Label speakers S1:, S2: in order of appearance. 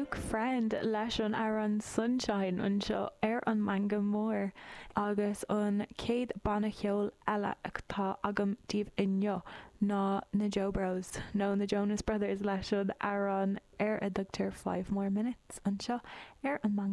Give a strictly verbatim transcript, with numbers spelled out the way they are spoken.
S1: Luke Friend leis an amhrán Sunshine anseo ar an Meangadh Mór agus an chéad banna ceoil eile atá agam daoibh inniu ná na Joe Bros nó na Jonas Brothers leis an amhrán ar a dtugtar five more minutes anseo ar an Meangadh